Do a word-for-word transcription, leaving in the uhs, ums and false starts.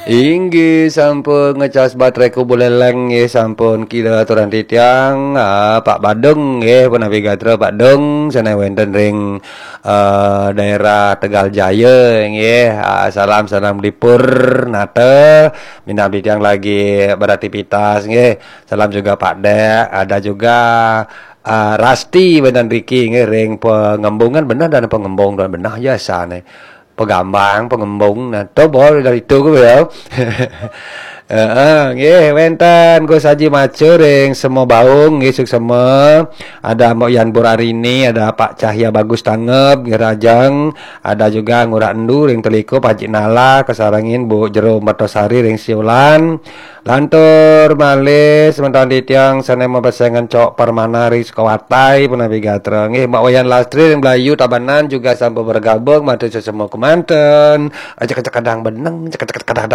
Inggih sampun ngecas baterai ku buleleng nggih, sampun kira aturan titiang, ah, Pak Badung nggih, punapi gatra Pak Dung, sané wénten ring, eh, daerah Tegal Jaya nggih. Ah, salam, salam dipur nata, minab titiang lagi beraktivitas nggih. Salam juga Pak Dek, ada juga, ah, Rasti wénten riki nggih ring Pengembungan, bener dan Pengembung dan bener ya sané. Pegambang, Pengembung, nah to bol dari itu ku ya. Heeh, nggih wénten Gus Haji Macur ring Sema Baung nggih, suksema. Ada Mbok Yan Burarini, ada Pak Cahya Bagus Tangep nggih Rajang, ada juga Ngurah Endu ring Teliku, Pak Haji Nala, kasarengin Bu Jero Mertosari ring Siulan. Lantur malih semeton titiang sané mapesengan Cok Permana ring Sukawatai punapi gatra. Nggih, Mbak Wayan Lastri ring Blayu Tabanan juga sampun bergabung, matur suksema kemanten. Aja kecek kadang beneng, cek kecek kadang